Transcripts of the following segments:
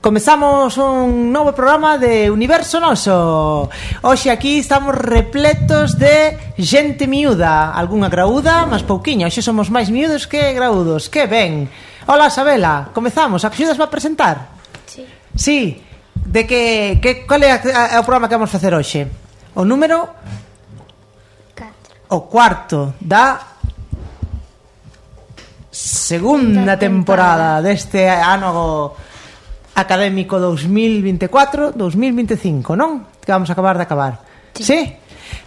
Comezamos un novo programa de Universo Noso. Hoxe aquí estamos repletos de xente miúda. Algúnha graúda, mas pouquiña. Hoxe somos máis miúdos que graúdos. Que ben. Hola, Sabela, comezamos. Axudas a presentar? Sí. Sí. De que cal é o programa que vamos facer hoxe? O número? 4. O cuarto da segunda temporada deste ano académico 2024-2025, non? Que vamos a acabar de acabar. Sí?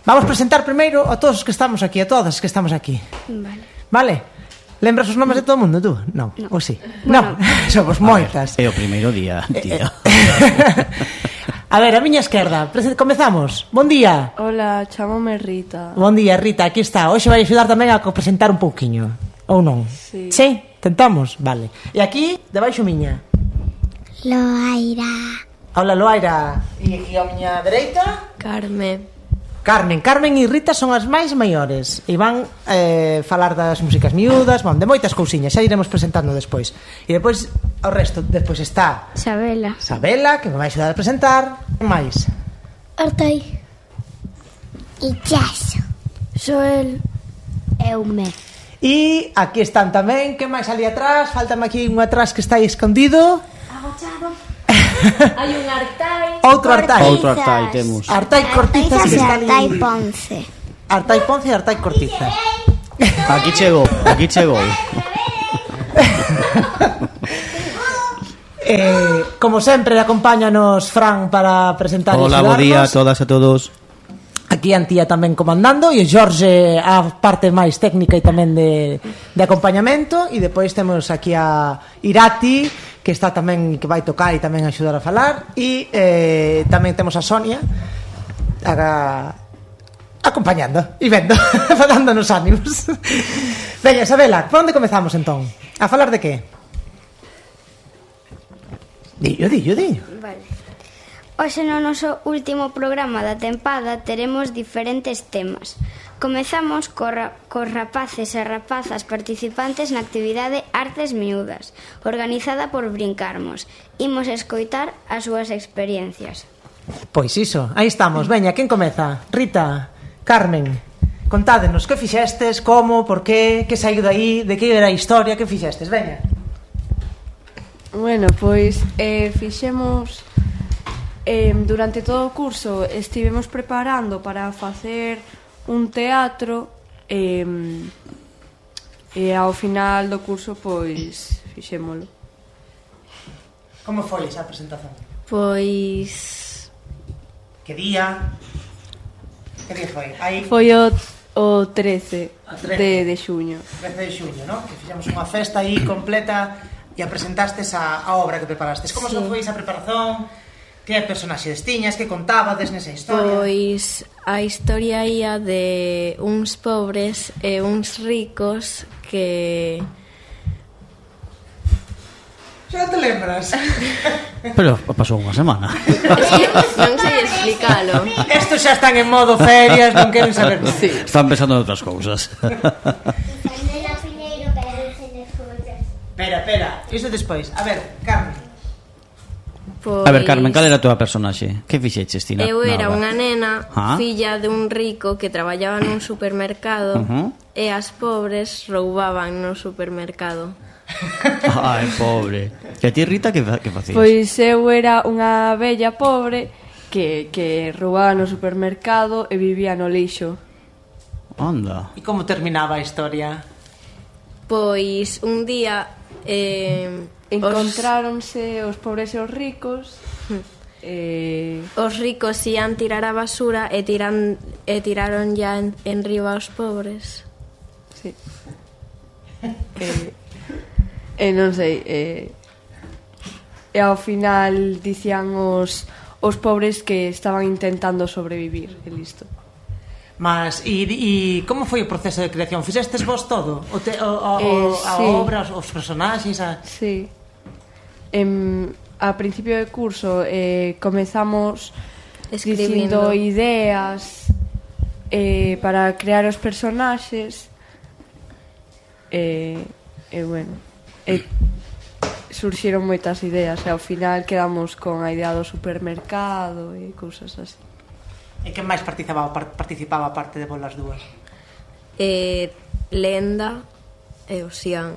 Vamos presentar primeiro a todos os que estamos aquí, a todas as que estamos aquí. Vale? Lembras os nomes de todo o mundo, tú? Non, ou sí? Non, somos moitas. É o primeiro día, tío. A ver, a miña esquerda, comezamos. Bon día. Hola, chámome Rita. Bon día, Rita, aquí está. Hoxe vai axudar tamén a presentar un pouquiño. Ou non? Sí. Sí? Tentamos? Vale. E aquí, debaixo miña. Loaira. Hola, Loaira. E aquí a miña dereita? Carmen. Carmen e Rita son as máis maiores e van falar das músicas miúdas, de moitas cousiñas, xa iremos presentando despois. E despois o resto, despois está Sabela. Sabela, que me vai axudar a presentar. Que máis? Artai. Illaso. Joel. Eume. E aquí están tamén, que máis ali atrás? Faltame aquí un atrás que está aí escondido. Agochado. Hai un Artai. Outro Artai. Outro Artai temos. Artai Cortizas que está ali. Artai Ponce. Artai Ponce e Artai Cortiza. Aquí chegou. Como sempre, acompáñanos Fran para presentar. Hola, bo día a todas e todos. Aquí Antía tamén comandando e Jorge a parte máis técnica e tamén de acompañamento. E depois temos aquí a Irati, que está tamén, que vai tocar e tamén axudar a falar. E tamén temos a Sonia acompañando e vendo, dándonos ánimos. Veña, Isabela, por onde comezamos entón? A falar de que? Dillo. Vale. Hoxe no noso último programa da tempada teremos diferentes temas. Comezamos cos rapaces e rapazas participantes na actividade Artes Miúdas, organizada por Brincarmos. Imos escoitar as súas experiencias. Pois iso, aí estamos. Veña, quen comeza? Rita, Carmen, contádenos, que fixestes, como, por qué, que saiu daí, de que era a historia, que fixestes? Veña. Bueno, pois fixemos durante todo o curso estivemos preparando para facer un teatro e ao final do curso pois fixémolo. Como foi esa presentación? Pois... Que día? Que día foi? Aí... Foi o 13 de xuño. 13 de xuño, non? Que fixemos unha festa aí completa e a presentastes a obra que preparastes. Como sí. Foi esa preparación? Que personaxes tiñas? Que contabades nesa historia? Pois a historia ia de uns pobres e uns ricos que... Xa te lembras? Pero pasou unha semana. Non sei explicalo. Estos xa están en modo ferias, non queren saber. Sí. Están pensando en outras cousas. Espera, iso despois. A ver, Carmen. Pois... A ver, Carmen, cal era a túa personaxe? Que fixeches, Tina? Eu era unha nena, ¿Ah? filla de un rico que traballaba nun supermercado e as pobres roubaban no supermercado. Ai, pobre. E a ti, Rita, que facías? Pois eu era unha vella pobre que roubaba no supermercado e vivía no lixo. Anda. E como terminaba a historia? Pois un día encontráronse os pobres e os ricos. Os ricos ian tirar a basura e tiraron ya en riba aos pobres. Sí. Non sei, e ao final dicían os pobres que estaban intentando sobrevivir, e listo. Mas, e como foi o proceso de creación? Fixestes vos todo? A sí. obra, os personaxes? Sí. A principio de curso comezamos dicindo ideas para crear os personaxes e bueno, surxiron moitas ideas e ao final quedamos con a idea do supermercado e cousas así. E quen máis participaba aparte de vos as dúas? Lenda e o Xian.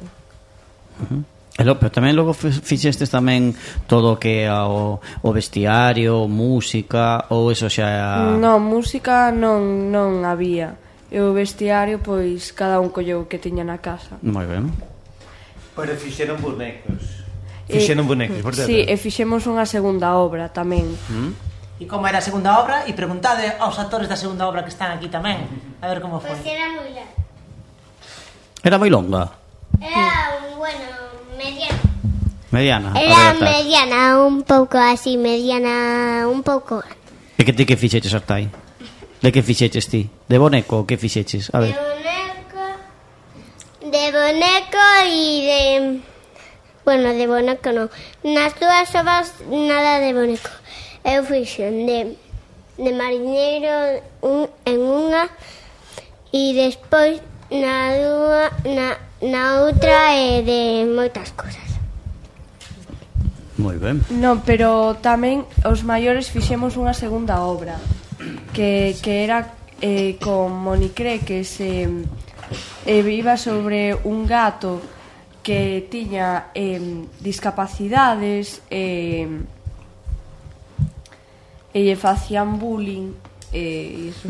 Pero tamén logo fixestes tamén todo o que é o vestiario, música, ou eso xa... Non, música non había. E o vestiario, pois, cada un colleu o que tiña na casa. Moi ben. Pero fixeron bonecos. Por certo. Sí, e fixemos unha segunda obra tamén. E como era a segunda obra? E preguntade aos actores da segunda obra que están aquí tamén. A ver como foi. Pois era moi larga. Era moi longa? Era, bueno, mediana. Mediana? Era mediana, un pouco así, mediana, un pouco. E que ti que fixeches, Artai? De que fixeches ti? De boneco, que fixeches? A ver. De boneco e de... Bueno, de boneco non. Nas dúas obras nada de boneco. Eu fixen de mariñeiro en unha e despois na outra de moitas cosas. Moi ben. Non, pero tamén os maiores fixemos unha segunda obra que era con Monicre, que iba sobre un gato que tiña discapacidades e lle facían bullying e iso.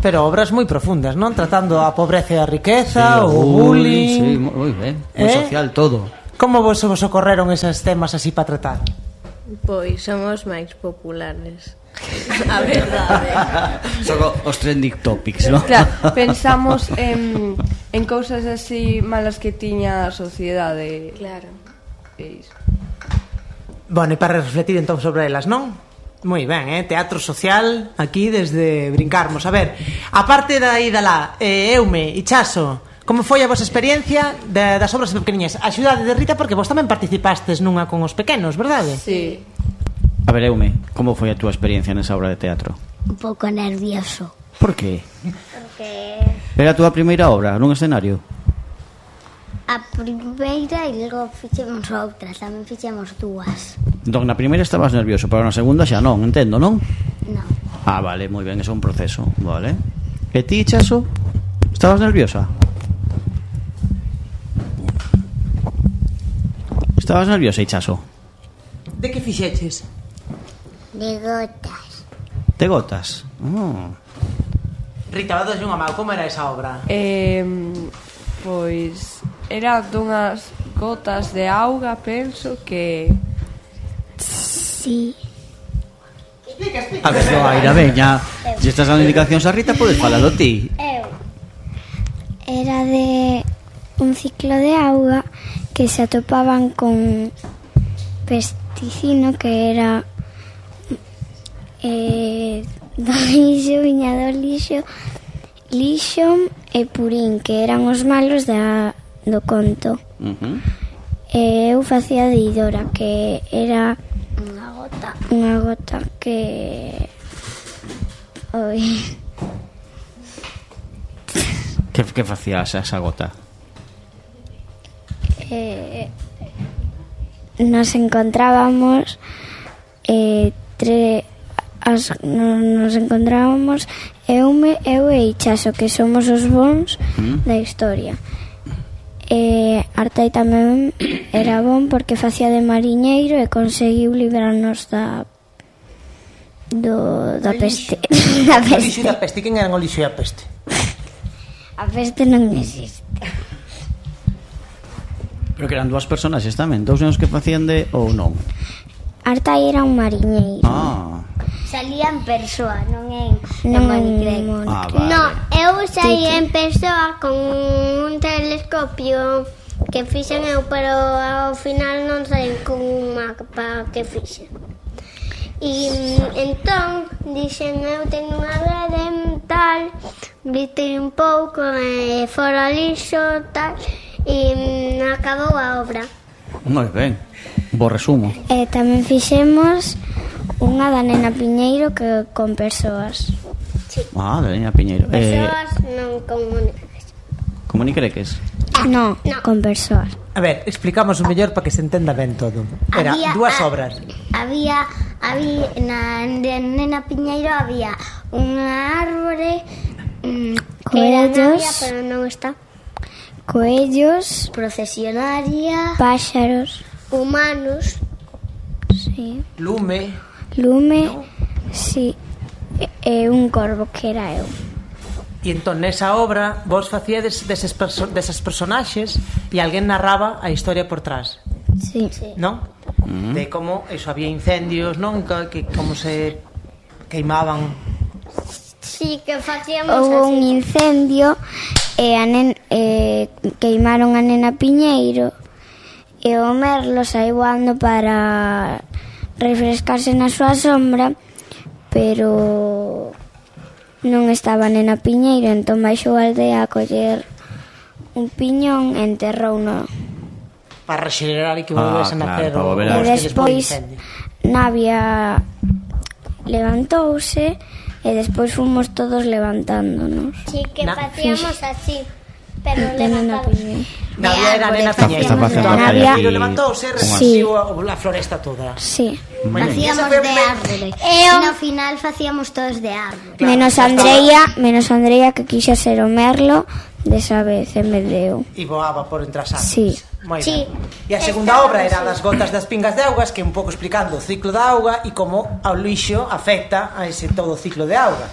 Pero obras moi profundas, non? Tratando a pobreza e a riqueza, o bullying... Sí, moi ben, moi social todo. Como vos ocorreron esos temas así para tratar? Pois somos máis populares. A verdade. Son os trending topics, non? Claro, pensamos en cousas así malas que tiña a sociedade. Claro. E iso. Bueno, e para refletir entón sobre elas, non? Moi ben, teatro social aquí desde brincarmos. A ver, aparte da ida lá, Eume e Chaso, como foi a vosa experiencia das obras pequeniñas? A xudade de Rita, porque vos tamén participastes nunha con os pequenos, verdade? Sí. A ver, Eume, como foi a túa experiencia nesa obra de teatro? Un pouco nervioso. Por qué? Porque Era a túa primeira obra nun escenario? a primeira e logo fixemos outras, tamén fixemos dúas. Entón, na primeira estabas nervioso, pero na segunda xa non, entendo, non? Non. Ah, vale, moi ben, eso é un proceso, vale. E ti, Chaso? Estabas nerviosa? Estabas nerviosa, Chaso? De que fixeches? De gotas. De gotas? Rita, vados unha mau, como era esa obra? Pois era dunhas gotas de auga, penso que... Sí. A ver, no, Aira, veña. Se estás dando indicacións a Rita, podes falalo ti. Era de un ciclo de auga que se atopaban con pesticino que era do lixo, viña do lixo e purín, que eran os malos do conto. E eu facía de Idora, que era unha gota que... Que facías esa gota? Nos encontrábamos nos encontrábamos eu e Chaso, que somos os bons da historia. Artai tamén era bon porque facía de mariñeiro e conseguiu librarnos da peste. Da O lixo peste. e da peste, quen eran o lixo e a peste? A peste non existe. Pero que eran dúas personaxes tamén, dous nenos que facían de... ou non? Artai era un mariñeiro. Salía en persoa, non en Monicre. Vale. No, eu saí en persoa con un telescopio que fixen eu, pero ao final non saí con un mapa que fixen. E entón dixen eu teño unha rede tal, vitei un pouco e fora lixo tal, e acabou a obra. Moi ben, bo resumo. Tamén fixemos unha da Nena Piñeiro que con persoas. Da Nena Piñeiro. Persoas non con Monicre. Como ni creques? No, con persoas. A ver, explicamos o mellor para que se entenda ben todo. Era dúas obras. Había na Nena Piñeiro había unha árbore que era navia, pero non está. Coellos, Procesionaria, páxaros, humanos, sí. Lume. Sí. E un corvo que era eu. E entón nesa obra vos facíades desas personaxes e alguén narraba a historia por trás, Sí. non? De como eso, había incendios, non? Que como se queimaban. sí, que facíamos Houve un así. incendio e queimaron a Nena Piñeiro e o Merlo saiu voando para refrescarse na súa sombra, pero non estaba Nena Piñeiro, entón baixou a aldea a coller un piñón e enterrouno. Para rexenerar e que volvese a nacer para volver a- E despois Navia levantouse e despois fomos todos levantándonos. Sí, que facíamos así, pero De Nena levantados. Piñeiro. Navia era Nena Está Piñeiro. facendo Entón, Navia- Navia levantouse e recibiu a floresta toda. Sí. Moi ben. Facíamos Esa foi a de primeira- árbore. E no final facíamos todos de árbore. Menos Andreia que quixa ser o Merlo desa vez en vez de eu. E voaba por entre as árboles. Sí. Moi Sí. ben. E a segunda obra era das gotas das pingas de augas, que un pouco explicando o ciclo da auga e como ao lixo afecta a ese todo o ciclo de auga.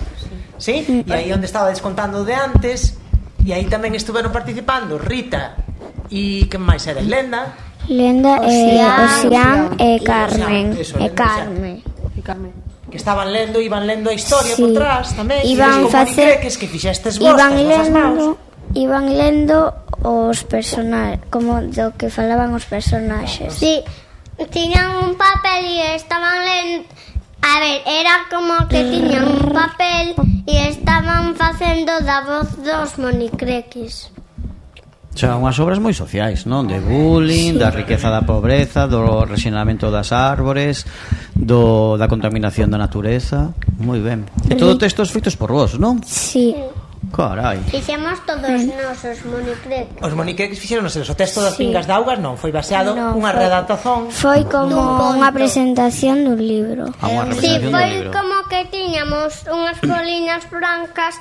Sí? E aí onde estaba descontando de antes, e aí tamén estuveron participando Rita e que máis era? Lenda, Lenda Osián e Carmen. Eso, E Lenda Carmen. que estaban lendo, iban lendo a historia Sí. por trás tamén. Iban como facer- Moniqueques que fixestes vos, Iban lendo os personaxes, como do que falaban os personaxes. Sí, tiñan un papel e estaban lendo. A ver, era como que tiñan un papel e estaban facendo da voz dos monicreques. O sea, unhas obras moi sociais, non? De bullying, da riqueza da pobreza, do rexeneramento das árbores, da contaminación da natureza. Moi ben. E todo textos feitos por vos, non? Sí. Carai. Fixemos todos nosos monicreques. Os moniqueques fixeron o texto das Sí. pingas de augas, non, foi baseado Non, unha foi- redactación. Foi como Dun unha conto. presentación dun libro. A unha Sí, representación do foi libro. como que tiñamos unhas boliñas brancas.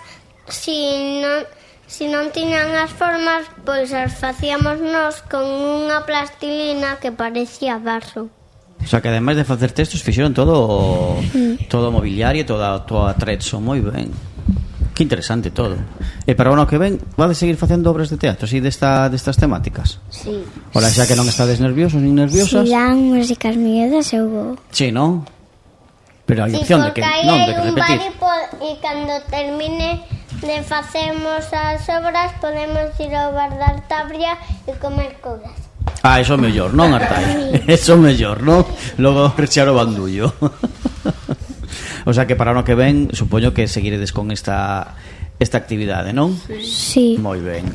Si non tiñan as formas, pois as facíamos nós con unha plastilina que parecía barro. O sea, que ademais de facer textos fixeron todo o mobiliario, todo atrezzo, moi ben. Que interesante todo. E para o ano que ven, vades seguir facendo obras de teatro así destas temáticas? Sí. Ola, xa que non estades nerviosos nin nerviosas. Si dan músicas miedas, eu vou. Sí, non? Pero hai Sí, opción de porque que aí non, de hai que un repetir. bar e cando termine de facemos as obras podemos ir ao bar da Artabria e comer cousas. Ah, eso é mellor, non, Artai? Eso é mellor, non? Logo rechar o bandullo. O sea que para o ano que ven supoño que seguiredes con esta actividade, non? Sí. Moi ben.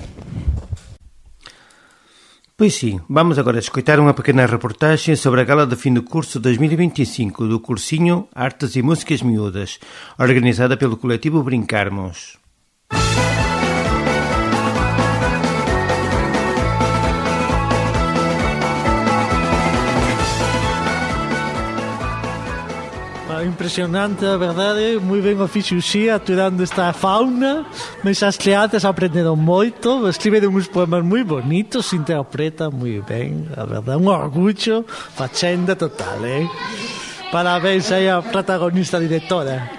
Pois sí, vamos agora a escoitar unha pequena reportaxe sobre a gala de fin do curso 2025 do cursiño Artes e Músicas Miúdas, organizada pelo colectivo Brincarmos. Impresionante, a verdade, moi ben o fixo Uxía aturando esta fauna, mas as creatas aprenderon moito, escriberon uns poemas moi bonitos, se interpretan moi ben, a verdade, un orgullo, facenda total, Parabéns aí a protagonista directora.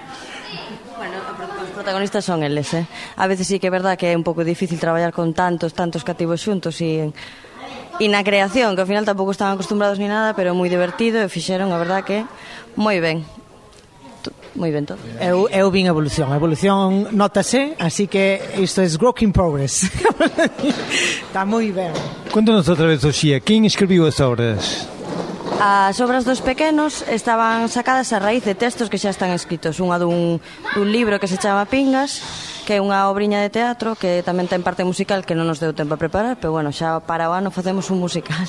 Bueno, os protagonistas son eles, A veces sí que é verdad que é un pouco difícil traballar con tantos cativos xuntos e na creación, que ao final tampouco están acostumbrados ni nada, pero moi divertido e fixeron, a verdad que moi ben. Moi ben todo. Eu vin a evolución notase, así que isto é work in progress. Está moi ben. Cuéntanos outra vez, Oxía, quen escribiu as obras? As obras dos pequenos estaban sacadas a raíz de textos que xa están escritos. Unha dun libro que se chama Pingas, que é unha obriña de teatro que tamén ten parte musical que non nos deu tempo a preparar, pero bueno, xa para o ano facemos un musical.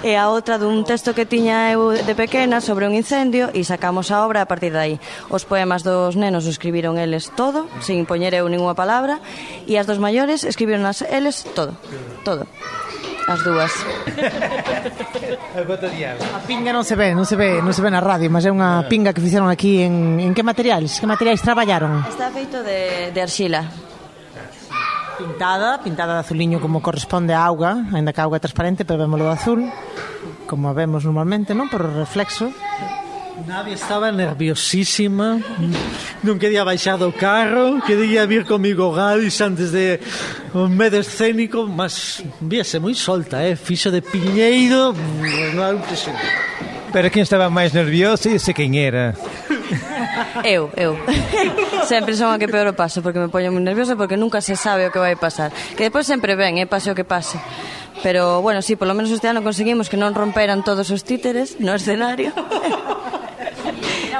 E a outra dun texto que tiña eu de pequena sobre un incendio e sacamos a obra a partir de aí. Os poemas dos nenos escribiron eles todo, sin poñer eu ninguna palabra, e as dos maiores escribiron eles todo. As dúas. A pinga non se ve na radio, mas é unha pinga que fixeron aquí en que materiais? Que materiais traballaron? Está feito de arxila. Pintada de azuliño como corresponde a auga, ainda que a auga é transparente, pero vémolo de azul, como vemos normalmente, non? Por reflexo. Nadia estaba nerviosísima, non quería baixar do carro, quería vir comigo Gadis antes de un medio escénico, mas víase moi solta, fixo de piñeiro, non é impresionante. Pero quen estaba máis nervioso e sei quen era. Eu. Sempre son a que peor o paso, porque me poño moi nerviosa, porque nunca se sabe o que vai pasar. Que depois sempre ven, pase o que pase. Pero, bueno, sí, polo menos este ano conseguimos que non romperan todos os títeres no escenario.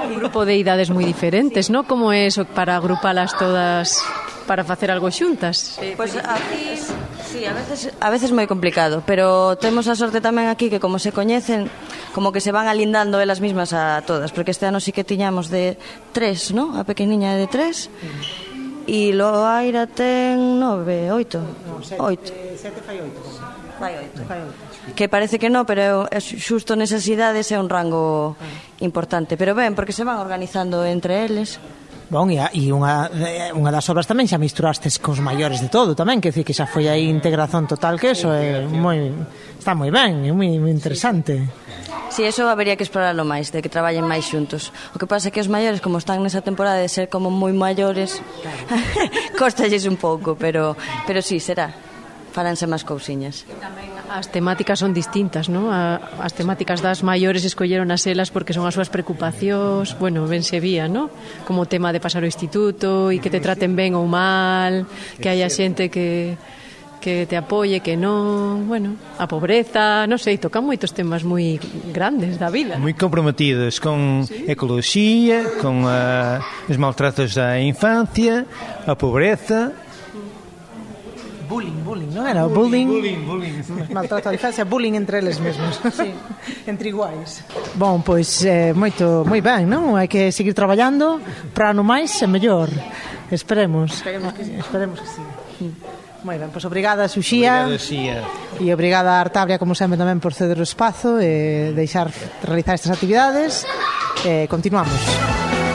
Un grupo de idades moi diferentes, ¿no? Como é eso para agrupalas todas para facer algo xuntas? Pois aquí, sí, a veces moi complicado, pero temos a sorte tamén aquí que como se coñecen, como que se van alindando elas mismas a todas, porque este ano sí que tiñamos de 3, ¿no? A pequeniña de 3. E Loaira ten 9, 8. 8. 7 fai 8. Fai 8. Que parece que non, pero xusto nesas idades é un rango importante. Pero ben, porque se van organizando entre eles. Bon, e unha das obras tamén xa misturastes cos maiores de todo tamén, que decir que xa foi aí integración total, que eso é está moi ben, é moi interesante. Si, eso habería que explorarlo máis, de que traballen máis xuntos. O que pasa é que os maiores, como están nesa temporada de ser como moi maiores, costalles un pouco, pero si, será. Faranse máis cousiñas. Tamén as temáticas son distintas, ¿no? As temáticas das maiores escolleron as elas porque son as súas preocupacións, bueno, ben se vía, ¿no? Como o tema de pasar o instituto e que te traten ben ou mal, que haya xente que te apoie, que non, bueno, a pobreza, non sei, tocan moitos temas moi grandes da vida. Moi comprometidos con ecoloxía, con os maltratos da infancia, a pobreza. Bullying, non era? Bullying. Maltrato a infancia, bullying entre eles mesmos. Sí, entre iguais. Bon, pois moi ben, non? Hai que seguir traballando para no máis e mellor. Esperemos que sí. Moi ben, pois obrigada, Xuxía. Obrigado, Xía. E obrigada a Artabria, como sempre, tamén por ceder o espazo e deixar realizar estas actividades. Continuamos.